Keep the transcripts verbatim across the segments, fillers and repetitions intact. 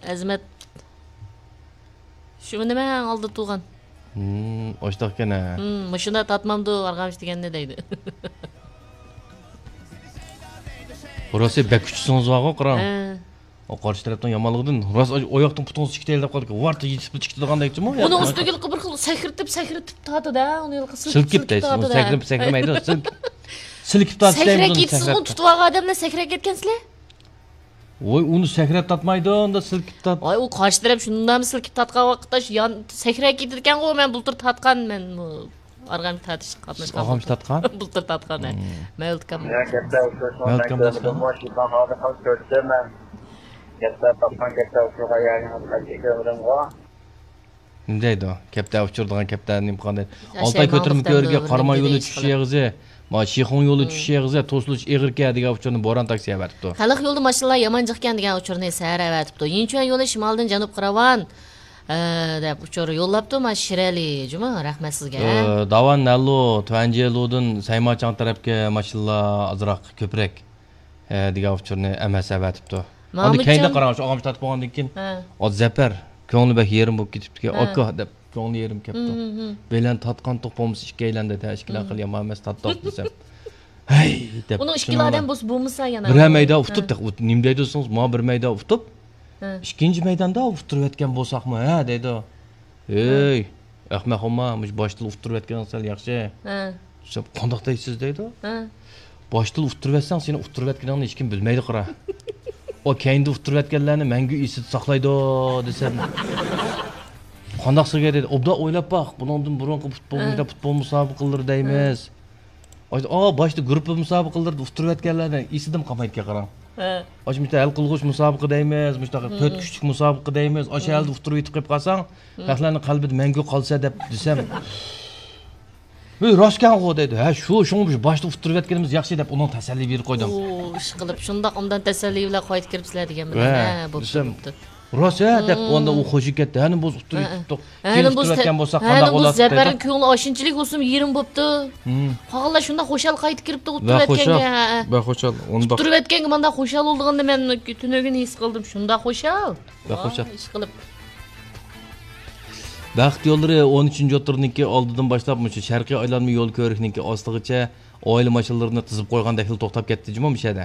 ئەزىمەت. شۇ نېمە ئالدى تۇغان؟ ھىم، ئاشتاقكەن ھە. ھىم، مۇشۇنداق تاتمامدۇ ئارغامچا دېگەننى دەيدۇ. راستى بەك كۈچلۈسىڭىز بارغۇ، قاراڭ. ھە. ئۇ قارشى تەرەپنىڭ يامانلىقىدىن راست ئاياقتىن پۇتىڭىز چىقىتەيلەپ قالدىكەن. ۋارت يېتىپ چىقىدىغاندەكچىمۇ؟ ئۇنىڭ ئۈستىگە بىر خىل سەكرىتىپ، سەكرىتىپ تارتىدۇ، ئۇنى سىلكىپ، سىلكىپ دەيسىز، تارتىدۇ. سەكرىپ، سەكرىمەيدۇ، سىلكىپ. سىلكىپ تارتىش دەيمىز ئۇنى، سەكرەپ. سىزغۇ تۇتۇپ ئالغان ئادەملەر سەكرەپ كەتكەنسىلەر. ۋوي، ئۇنى سەكرەپ تارتمايدۇ، ئۇندا سىلكىپ تارت. ۋاي، ئۇ قارشى تەرەپ شۇنداقمۇ سىلكىپ تارتقان ۋاقىتتا شۇ يان سەكرەپ كېتىدىكەنغۇ، مەن بۇلتۇر تارتقان، مەن بۇ ئارغامچا تارتىش قاتناشقان. ئارغامچا تارتقان؟ بۇلتۇر تارتقان، ھە. مەۋلۇت ئاكام. يا، كەپتە ئۇچرىشىڭىز مەن كۆرمىدىمغۇ، شىپان خالىقىڭىز كۆرسىتىمەن. كەپتە تاپقان كەپتە ئۇچۇرغا يەرگىڭىز قايتى كۆرمىدىمغۇ. نېمە دەيدۇ؟ كەپتە ئۇچۇر دېگەن كەپتە نېمە قىلغان دەيدۇ؟ ئالتاي كۆتۈرمە كۆۋرۈكى قاراماي يولى چۈشۈش ئېغىزى، ما شىخۇڭ يولى چۈشۈش ئېغىزى توسۇلۇش ئېغىركەن دېگەن ئۇچۇرنى بوران تاكسى ئەۋەتىپتۇ. خەلق يولىدا ماشىنىلار يامان جىقكەن دېگەن ئۇچۇرنى سەھەر ئەۋەتىپتۇ. يىنچۈەن يولى شىمالدىن جەنۇبقا راۋان، ئە، دەپ ئۇچۇر يوللاپتۇ ما شىرئەلى جۇما، رەھمەت سىزگە. ئە، داۋان نەللۇ، تۈەنجيېلۇدىن سەيماچاڭ تەرەپكە ماشىنىلار ئازراق كۆپرەك. ھە، دېگەن ئۇچۇرنى ئەمەس ئەۋەتىپتۇ. ئاندىن كەينىدە قاراڭ، شۇ ئاغامچە تارتىپ بولغاندىن كېيىن، ھە. ئا، زەپەر، كۆڭلى بەك يېرىم بولۇپ كېتىپتىكەن. ھە. ئاكا دەپ كۆڭلى يېرىم كەپتۇ. ھىم، ھىم، ھىم. بىلەن تارتقانتۇق بولمىسا ئىككىيلەن دەيدۇ. ھە، ئىككىلەن قىل يامان ئەمەس، تارتتۇق دېسەم. ھەي دەپ. ئۇنىڭ ئىككىلا ئادەم بولسا بولمىسا يەنە. بىرەر مەيدان ئۇتۇپ، ھە. نېمە دەيدۇ دېسىڭىز، ما بىر مەيدان ئۇتۇپ، ھە. ئىككىنچى مەيداندا ئۇتتۇرۇۋەتكەن بولساقمۇ، ھە دەيدۇ. ھە. ھەي، ئەخمەق ئوما، مۇشۇ باشتىلا ئۇتتۇرۇۋەتكىنىڭىز سەل ياخشى. ھە. دېسەم، قانداق دەيسىز دەيدۇ. ھە. باشتىلا ئۇتتۇرۇۋەتسەڭ، سېنى ئۇتتۇرۇۋەتكىنىڭنى ھېچكىم بىلمەيدۇ، قارا. ئۇ كەينىدە ئۇتتۇرۇۋەتكەنلەرنى مەڭگۈ ئېسىدە ساقلايدۇ، دېسەم. قانداق سىزگە دېدى. ئوبدان ئويلاپ باق، بۇنىڭدىن بۇرۇنقى پۇتبول، ھە. پۇتبول مۇسابىقىلىرى دەيمىز. ھە. ئا، باشتا گۇرۇپپا مۇسابىقىلىرىدە ئۇتتۇرۇۋەتكەنلەرنى ئېسىدىمۇ قالمايدىكەن، قاراڭ. ھە. ئاشۇ مۇشۇنداق ھەل قىلغۇچ مۇسابىقە دەيمىز، مۇشۇنداق تۆت كۈچلۈك مۇسابىقە دەيمىز، ئاشۇ ھەلدە ئۇتتۇرۇۋېتىپ قويۇپ قالساڭ، خەقلەرنىڭ قەلبىدە مەڭگۈ قالىسەن دەپ دېسەم، ۋەي، راستكەنغۇ دەيدۇ. ھە، شۇ، شۇڭا بىز باشتا ئۇتتۇرۇۋەتكىنىمىز ياخشى دەپ ئۇنىڭ تەسەللى بېرىپ قويدۇم. ئۇ، ئىشقىلىپ، شۇنداق ئوبدان تەسەللى بىلەن قايتىپ كىرىپسىلەر دېگەن بىلەن. ھە، بوپتۇ، بوپتۇ. راست ھە دەپ، ئاندا ئۇ خوشى كەتتى. ھەنە بولسا ئۇتتۇرۇپ كېتىپتۇق. كېيىن ئۇتتۇرۇۋەتكەن بولساق قانداق بولاتتى دەيدۇ. زەپەرنىڭ كۆڭلى ئاشۇنچىلىك بولسىمۇ يېرىم بوپتۇ. قالغانلار شۇنداق خۇشال قايتىپ كىرىپتۇ ئۇتتۇرۇۋەتكەنگە. ۋە خۇشال. ئۇتتۇرۇۋەتكەنگە مانداق خۇشال بولىدىغىنىنى مەن تۈنۈگۈن ھېس قىلدىم. شۇنداق خۇشال. ۋە خۇشال. ئىشقىلىپ. بەخت يوللىرى ئون ئۈچىنچى ئوتتۇرىنىڭكى ئالدىدىن باشلاپ مۇشۇ شەرقىي ئايلانما يول كۆۋرۈكنىڭكى ئاستىغىچە ئائىلە ماشىنىلىرىنى تىزىپ قويغاندەكلا توختاپ كەتتى جۇمۇ مۇشۇ يەردە.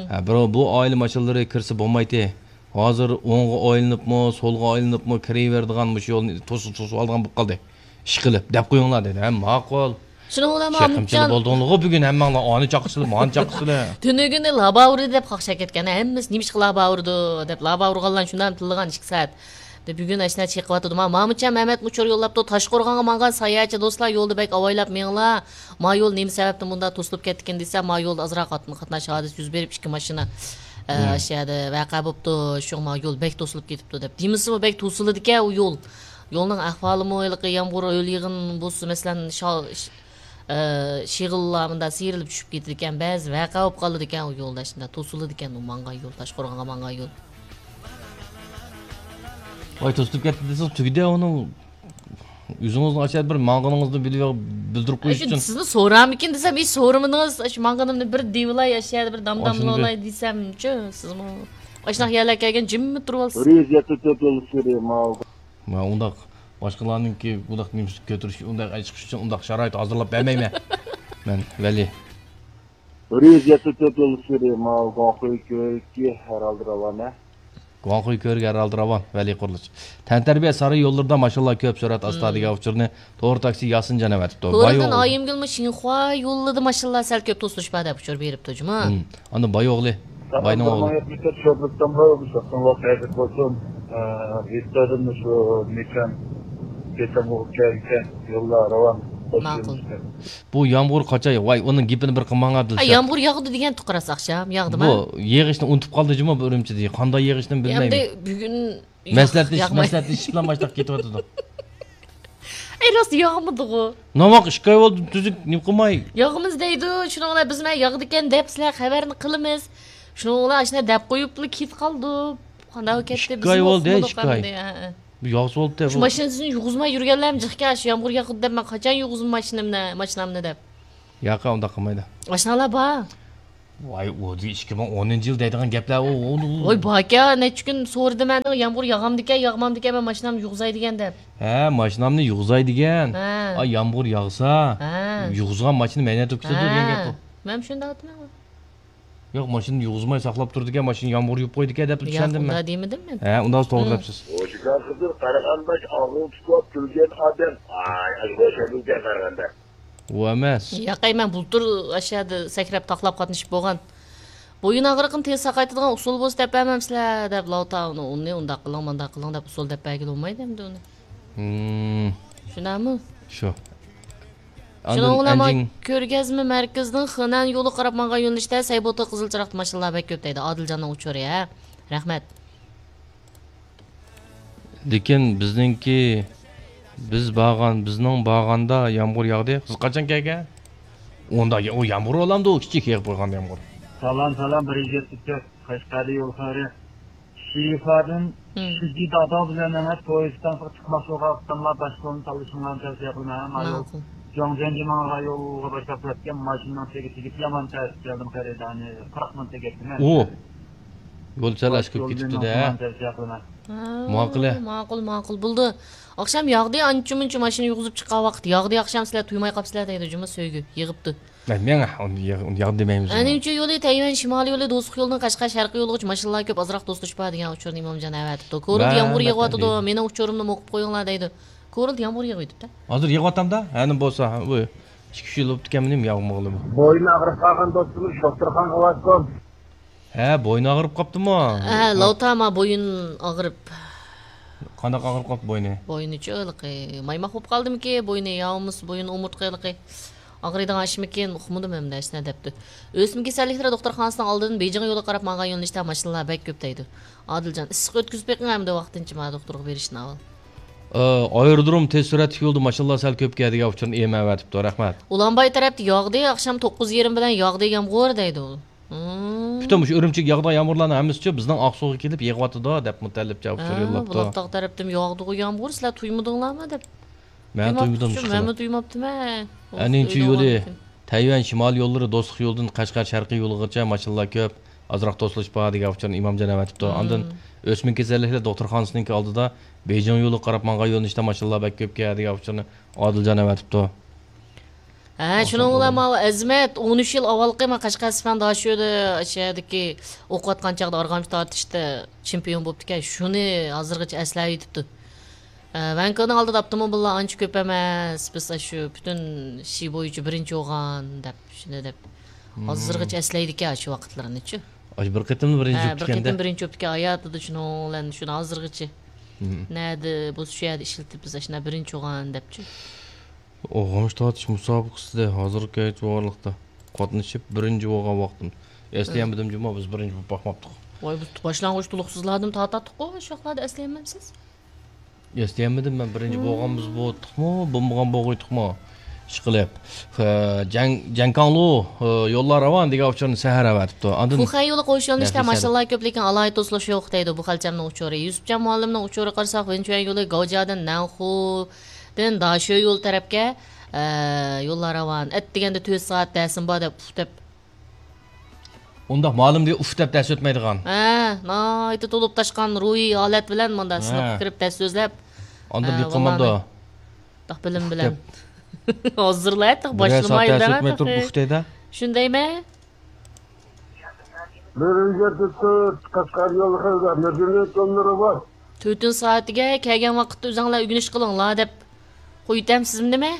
ھە، بىراۋ بۇ ئائىلە ماشىنىلىرى كىرسە بولمايتتى. ھازىر ئوڭغا ئايلىنىپمۇ، سولغا ئايلىنىپمۇ كىرىۋېرىدىغان مۇشۇ يولنى توسۇپ، توسۇپ ئالىدىغان بولۇپ قالدى. ئىشقىلىپ، دەپ قويۇڭلار دېدى. ھە، ماقۇل. شۇنىڭ بىلەن چېقىمچىلا بولدۇڭلىغۇ بۈگۈن ھەممەڭلار، ئانى چاقىسىلى، مانى چاقىسىلى. تۈنۈگۈنى لابا ئۇردى دەپ قاقشاپ كەتكەن. ھەممىسى نېمىشقا لابا ئۇرىدۇ دەپ، لابا ئۇرغانلارنى شۇنداق تىللىغان ئىككى سائەت. دە، بۈگۈن ئاشۇنداق چېقىۋاتىدۇ. ما، مامۇچان مەمەت مۇچۇر يوللاپتۇ. تاشقورغانغا ماڭغان ساياھەتچى دوستلار يولدا بەك ئاۋايلاپ مېڭىڭلار. ما يول نېمە سەۋەبتىن مۇنداق توسۇلۇپ كەتتىكىن دېسە، ما يولدا ئازراق قاتناش ھادىسە يۈز بېرىپ، ئىككى ماشىنا، ئە، ئاشۇ يەردە ۋەقە بوپتۇ. شۇڭا ما يول بەك توسۇلۇپ كېتىپتۇ دەپ. دېمىسىمۇ بەك توسۇلىدىكەن ئۇ يول. يولنىڭ ئەھۋالىمۇ ھېلىقى يامغۇر، ھۆل يېغىن بولسا، مەسىلەن، شا-، ئە، شېغىللار مۇنداق سىيرىلىپ چۈشۈپ كېتىدىكەن، بەزى ۋەقە بولۇپ قالىدىكەن ئۇ يولدا، شۇنداق توسۇلىدىكەن ئۇ ماڭغان يول، تاشقورغانغا ماڭغان يول. ۋاي، توسۇلۇپ كەتتى دېسىڭىز تۈگىدى ئۇنىڭ. ئۆزىڭىزنىڭ ئاشۇ بىر ماڭغىنىڭىزنى بىلىپ، بىلدۈرۈپ قويۇش ئۈچۈن. سىزنى سورامىكىن دېسەم، ھېچ سورىمىدىڭىز. ئاشۇ ماڭغىنىمنى بىر دېيىۋالاي، ئاشۇ يەردە بىر دامداملاۋالاي دېسەمچۇ، سىزمۇ ئاشۇنداق يەرلەرگە كەلگەن جىممىت تۇرۇۋالىسىز. بىر يۈز يەتتە تۆت يول ئۈستىدە ماڭغان. مانا ئۇنداق باشقىلارنىڭكى بۇنداق نېمىسىنى كۆتۈرۈش، ئۇنداق ئەي چىقىش ئۈچۈن ئۇنداق شارائىت ھازىرلاپ بەرمەيمەن. مەن ۋەلى. بىر يۈز يەتتە تۆت يول ئۈستىدە ماۋۇ گۇاڭخۇي كۆۋرۈكى ھەر ھالدا راۋان ھە. گۇاڭخۇي كۆۋرۈكى ھەر ھالدا راۋان، ۋەلى قۇرۇلۇش. تەنتەربىيە سارىيى يوللىرىدا ماشىنىلار كۆپ، سۈرئەت ئاستا دېگەن ئۇچۇرنى تور تاكسى ياسىنجان ئەۋەتىپتۇ. تورىدىن ئايىمگۈلمۇ شىنخۇا يولىدا ماشىنىلار سەل كۆپ توسۇلۇش بار دەپ ئۇچۇر بېرىپتۇ جۇمۇ. ئاندىن باي ئوغلى، باينىڭ ئوغلى. شوپۇرتتىن بار، شۇنىڭ ۋاقتى ھەرىكەت بولسۇن. ئە، ۋىكتورىمنى شۇ مېكان، كېتەمغۇ كەلگەن يوللار راۋان. ماقۇل. بۇ يامغۇر قاچاي، ۋاي، ئۇنىڭ گېپىنى بىر قىلماڭا، دىلشات. ئە، يامغۇر ياغدى دېگەن تۇقراس ئاخشام، ياغدىما؟ بۇ يېغىشنى ئۇنتۇپ قالدى جۇمۇ بۇ ئۈرۈمچىدە. قانداق يېغىشنى بىلمەيمەن. ئەمدى بۈگۈن مەسلىھەتلىشىپ، مەسلىھەتلىشىپلا ماشتاق كېتىۋاتىدۇ. ئەي، راست ياغمىدىغۇ. ناۋاق ئىككى ئاي بولدى، تۈزۈك نېمە قىلماي. ياغىمىز دەيدۇ، شۇنىڭ بىلەن بىز مەن ياغىدىكەن دەپ سىلەر خەۋەرنى قىلىمىز. شۇنىڭ بىلەن ئاشۇنداق دەپ قويۇپلا كېتىپ قالدۇق. قانداق كەتتى، ئىككى ئاي بولدى، ئىككى ئاي. بۇ ياغسا بولدى. شۇ ماشىنىسىنى يۇغۇزماي يۈرگەنلەرمۇ جىقكەن، شۇ يامغۇر ياغدى دەپ مەن قاچان يۇغۇزىمەن ماشىنامنى، ماشىنامنى دەپ. ياق، ئۇنداق قىلمايدۇ. ئاشۇنداقلار بار. ۋاي، ئۇ ئىككى مىڭ ئونىنچى يىل دەيدىغان گەپلەر، ئۇ، ئۇ، ئۇ. ۋاي، باركەن، نەچچە كۈن سورىدىم مەن، يامغۇر ياغامدىكەن، ياغمامدىكەن، مەن ماشىنامنى يۇغۇزاي دېگەن دەپ. ھە، ماشىنامنى يۇغۇزاي دېگەن. ھە. ئا، يامغۇر ياغسا، ھە، يۇغۇزغان ماشىنا مەينەت ئۆتكۈزىدۇ دېگەن گەپ بۇ. ھە. مەن شۇنداق دېمەڭ. ياق، ماشىنىنى يۇغۇزماي ساقلاپ تۇرىدىكەن، ماشىنىنى يامغۇر يۇيۇپ قويىدىكەن دەپ چۈشەندىم مەن. ياق، ئۇنداق دېمىدىم مەن. ھە، ئۇنداق توغرا دەپسىز. ھوجىكار قىزىل قارىغانباش ئاغزىنى تۇتۇپ كۈلگەن ئادەم. ئاي، ئاشۇ ئوخشايدۇ قارىغاندا. ئۇ ئەمەس. ياقەي، مەن بۇلتۇر ئاشۇ يەردە سەكرەپ تاقلاپ قاتنىشىپ بولغان. بويۇن ئاغرىقىنى تېز ساقايتىدىغان ئۇسۇل بولسا دەپ بەرمەمسىلەر دەپ، لاۋتا ئۇنى، ئۇنى ئۇنداق قىلىڭ، مۇنداق قىلىڭ دەپ ئۇسۇل دەپ بەرگىلى بولمايدۇ ئەمدى ئۇنى. ھىم. شۇنداقمۇ؟ شۇ. شۇنىڭ بىلەن كۆرگەزمە مەركىزىنىڭ خېنەن يولىغا قاراپ ماڭغان يۆنىلىشتە سەيبوتا قىزىل چىراغدا ماشىنىلار بەك كۆپ دەيدۇ. ئادىلجاننىڭ ئۇچۇرى، ھە؟ رەھمەت. لېكىن بىزنىڭكى، بىز بارغان، بىزنىڭ بارغاندا يامغۇر ياغدى. سىز قاچان كەلگەن؟ ئۇندا يا-، ئۇ يامغۇر بولامدۇ؟ ئۇ كىچىك يېغىپ قويغان يامغۇر. سالام، سالام، بىر يۈز يەتتە تۆت، قەشقەردە يول خەۋىرى. شىفادىن مم. شىددىي دادا بىلەن ئەمەس، تويىستانغا چىقماقچى بولغان ئاپتونلار باشقۇرۇۋالساڭلار شۇڭلارنى تەۋسىيە قىلىمەن. ھە، مايۇ ماقۇل. جۇاڭجيەنجى ماڭغان يولغا باشلاپ كېتىپ كەتكەن ماشىنىنىڭ تېگى تېگىپ يامان تەس كەلدىم خېرىدارنى. قىرىق مىنۇت تېگەپتىمەن. ئۇ يول سەل ئاشۇ كېتىپتۇ-دە. تەۋسىيە قىلىمەن. ھە، ماقۇل. ماقۇل، ماقۇل. بولدى. ئاخشام ياغدى، ئانچە-مۇنچە ماشىنا يۇغۇزۇپ چىققان ۋاقىت. ياغدى ئاخشام، سىلەر تۇيماي قاپسىلەر دەيدۇ، جۇمۇ سۆيگۈ. يىغىپتۇ. مەن، مەن ئۇنى ياغ-، ئۇنى ياغدى دېمەيمىز. ئەنىڭچە يولى تەيۋەن شىمالىي يولى، دوستلۇق يولىدىن قەشقەر شەرقىي يولىغىچە ماشىنىلار كۆپ، ئازراق توسۇلۇش بار دېگەن ئۇچۇرنى ئىمامجان ئەۋەتىپتۇ. كورلىدا يامغۇر يېغىۋاتىدۇ، مېنىڭ ئۇچۇرۇمنىمۇ ئوقۇپ قويۇڭلار دەيدۇ. كورلىدا يامغۇر يېغىۋېتىپتۇ. ھازىر يېغىۋاتامدا، ھەنە بولسا، ھە، بۇ ئىككى ئۈچ يىل بوپتىكەن مېنىڭ ياغمىغىلىمۇ. بوينى ئاغرىپ قالغان دوستىمىز دوختۇرخانىغا بارسۇن. ھە، بوينى ئاغرىپ قاپتىمۇ؟ ھە، لاۋتا ما بويۇن ئاغرىپ. قانداق ئاغرىپ قاپتۇ بوينى؟ بوينىچۇ ھېلىقى مايماق بولۇپ قالدىمىكى، بوينى يا بولمىسا بويۇن ئومۇرتقا ھېلىقى ئاغرىيدىغان ئىشمىكىن، ئۇقمىدىم ئەمدى ھېچنە دەپتۇ. ئۆسمە كېسەللىكلىرى دوختۇرخانىسىنىڭ ئالدىدىن بېيجىڭ يولىغا قاراپ ماڭغان يۆنىلىشتە ماشىنىلار بەك كۆپ دەيدۇ. ئادىلجان، ئىسسىق ئۆتكۈزۈپ بېقىڭ ئەمدى ۋاقتىنچە ما دوختۇرغا بېرىشتىن ئاۋۋال. ئايرودروم تېز سۈرئەتلىك يولدا ماشىنىلار سەل كۆپكەن دېگەن ئۇچۇرنى ئېمەۋەتىپتۇ، رەھمەت. ئۇلانباي تەرەپتە ياغدى، ئاخشام توققۇز يېرىم بىلەن ياغدى يامغۇر دەيدۇ. مم. پۈتۈن مۇشۇ ئۈرۈمچىگە ياغىدىغان يامغۇرلارنىڭ ھەممىسىچۇ بىزنىڭ ئاقسۇغا كېلىپ يېغىۋاتىدۇ دەپ مۇتەللىپ جاۋاب ھە، يوللاپتۇ. بۇلاقتاغ تەرەپتىن ياغدىغۇ يامغۇر، سىلەر تۇيمىدىڭلارمۇ دەپ. مەن تۇيمىدىم، مەنمۇ تۇيماپتىمەن. ئەنىڭچە يولى تەيۋەن شىمالىي يوللىرى دوستلۇق يولىدىن قەشقەر شەرقىي يولىغىچە ماشىنىلار كۆپ، ئازراق توسۇلۇش بار دېگەن ئۇچۇرنى ئىمامجان ئەۋەتىپتۇ. مم. ئاندىن ئۆسمە كېسەللىكلەر دوختۇرخانىسىنىڭكى ئالدىدا بېيجىڭ يولىغا قاراپ ماڭغان يۆنىلىشتە ماشىنىلار بەك كۆپكەن دېگەن ئۇچۇرنى ئادىلجان ئەۋەتىپتۇ. ھە، شۇنىڭ بىلەن ماۋۇ ئەزىمەت ئون ئۈچ يىل ئاۋۋالقى ما قەشقەر سىفەن داشۆدە شەھەردىكى ئوقۇۋاتقان چاغدا ئارغامچا تارتىشتا چېمپىيون بوپتىكەن. شۇنى ھازىرغىچە ئەسلەۋېتىپتۇ. ھە، ۋەنكېنىڭ ئالدىدا ئاپتوموبىللار ئانچە كۆپ ئەمەس، بىز ئاشۇ پۈتۈن شى بويىچە بىرىنچى بولغان دەپ، شۇنى دەپ. ھازىرغىچە ئەسلەيدىكەن ئاشۇ ۋاقىتلىرىنىچۇ. ئاشۇ بىر قېتىملا بىرىنچى ھە، بىر بوپتىكەن-دە. قېتىم بىرىنچى بوپتىكەن ھاياتىدا شۇنىڭ بىلەن شۇنى ھازىرغىچە. نەدە بولسا شۇ يەردە ئىشلىتىپ بىز ئاشۇنداق بىرىنچى بولغان دەپچۇ. ئوغۇنچ تارتىش مۇسابىقىسىدە ھازىرغىچە بارلىقتا قاتنىشىپ بىرىنچى بولغان ۋاقتىم. ئەسلىيەلمىدىم جۇمۇ، بىز بىرىنچى بولۇپ باقماپتۇق. ۋاي، بىز باشلانغۇچ تولۇقسىزلاردىن تارتاتتۇققۇ، شۇ ۋاقىتلاردا ئەسلىيەلمەمسىز؟ ئەسلىيەلمىدىم مەن، بىرىنچى بولغانمىز بولدۇقمۇ، بولمىغان بولغۇيتۇقمۇ؟ ئىشقىلىپ، جەڭ-، جەڭكاڭلۇ، يوللار راۋان دېگەن ئۇچۇرنى سەھەر ئەۋەتىپتۇ. ئاندىن فۇخەن يولى قوش يۆنىلىشتە ماشىنىلار كۆپ، لېكىن ئالاھىدە توسۇلۇش يوق دەيدۇ، بۇ خەلچەمنىڭ ئۇچۇرى. يۈسۈپجان مۇئەللىمنىڭ ئۇچۇرىغا قارىساق، ۋېنچۈەن يولى گاۋجيادىن نەنخۇدىن داشۆ يولى تەرەپكە، ئە، يوللار راۋان. ئەتىگەندە تۆت سائەت دەرسىم بار دەپ، ئۇھ دەپ. ئۇنداق مۇئەللىم دېگەن ئۇھ دەپ دەرس ئۆتمەيدىغان. ھە، ناھايىتى تولۇپ تاشقان روھىي ھالەت بىلەن مۇنداق سىنىپقا كىرىپ دەرس سۆزلەپ، ئاندىن ئە، نېمە قىلمامدۇ؟ ئۇھ دەپ بىلىم بىلەن. ھازىرلا ئەتتىق باشلىمايدۇ دەپ ئۇھ دەيدۇ. شۇندايمەن. بىرىنچى تۈرتۈت قەشقەر يولى خەۋەر مەدەنىيەت يوللىرى بار. تۆتىنچى سائەتىگە كەلگەن ۋاقىتتا ئۆزۈڭلار ئۆگىنىش قىلىڭلار دەپ قويۇۋېتەمسىزمۇ نېمە؟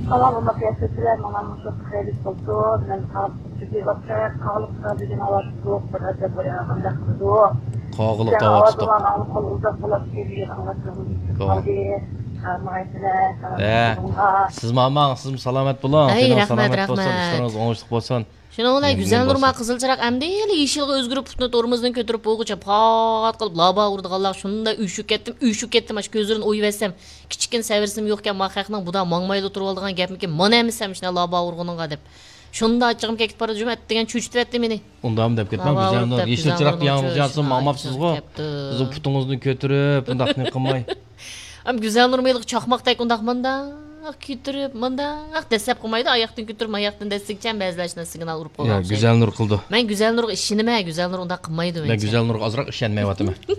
سالام، ئۇنداق ياشىسىلەر، ماڭا مۇشۇ خەيرلىك بولسۇن. مەن قاغلىق بۈگۈن ھاۋا سوغۇق، بىر ئەجەب بۇ يەردە قانداق قىلىدۇ؟ قاغلىق تاۋاتىدۇ. ئاۋازىڭلارنى ئاڭلاپ قالدى. ھە، سىزمۇ ئاماڭ، سىزمۇ سالامەت بولۇڭ. ئەي، تېنىڭىز رەھمەت، سالامەت بولسۇن، رەھمەت. ئىشلىرىڭىز ئوڭۇشلۇق بولسۇن. شۇنىڭ بىلەن گۈزەل نۇرما قىزىل چىراغ ئەمدىلا يېشىلغا ئۆزگىرىپ، پۇتىنى تورمۇزدىن كۆتۈرۈپ بولغۇچە پات قىلىپ لابا ئۇرىدىغانلار شۇنداق ئۈشۈپ كەتتىم، ئۈشۈپ كەتتىم، ئاشۇ كۆزلىرىنى ئويۇۋەتسەم، كىچىككىنە سەۋرسىم يوقكەن، ما خەقنىڭ بۇدا ماڭمايلا تۇرۇۋالىدىغان گەپمىكىن، مانا ئەمىسە سەن مۇشۇنداق لابا ئۇرغىنىڭغا دەپ. شۇنداق ئاچچىقىم كەتكىپ بارىدۇ، جۇمۇ ئەتىگەن چۆچۈتۈۋەتتى مېنى. ئۇنداقمۇ دەپ كەتمەڭ، گۈزەل نۇر، يېشىل چىراغ ياڭزىياسىز ماڭماپسىزغۇ. سىزنىڭ پۇتىڭىزنى كۆتۈرۈپ، ئۇنداقنى قىلماي. ئەم گۈزەل نۇرما ھېلىقى چاقماقتەك ئۇنداق مۇنداق. مۇنداق كۆتۈرۈپ، مۇنداق دەسسەپ قىلمايدۇ، ئاياقتىن كۆتۈرۈپ، ماياقتىن دەسسىگىچە بەزىلەر شۇنداق سىگنال ئۇرۇپ يا قويغان ئوخشايدۇ. گۈزەلنۇر قىلدى. مەن گۈزەلنۇرغا ئىشىنىمەن، گۈزەلنۇر ئۇنداق قىلمايدۇ مەن مەنچە. گۈزەلنۇرغا ئازراق ئىشەنمەيۋاتىمەن.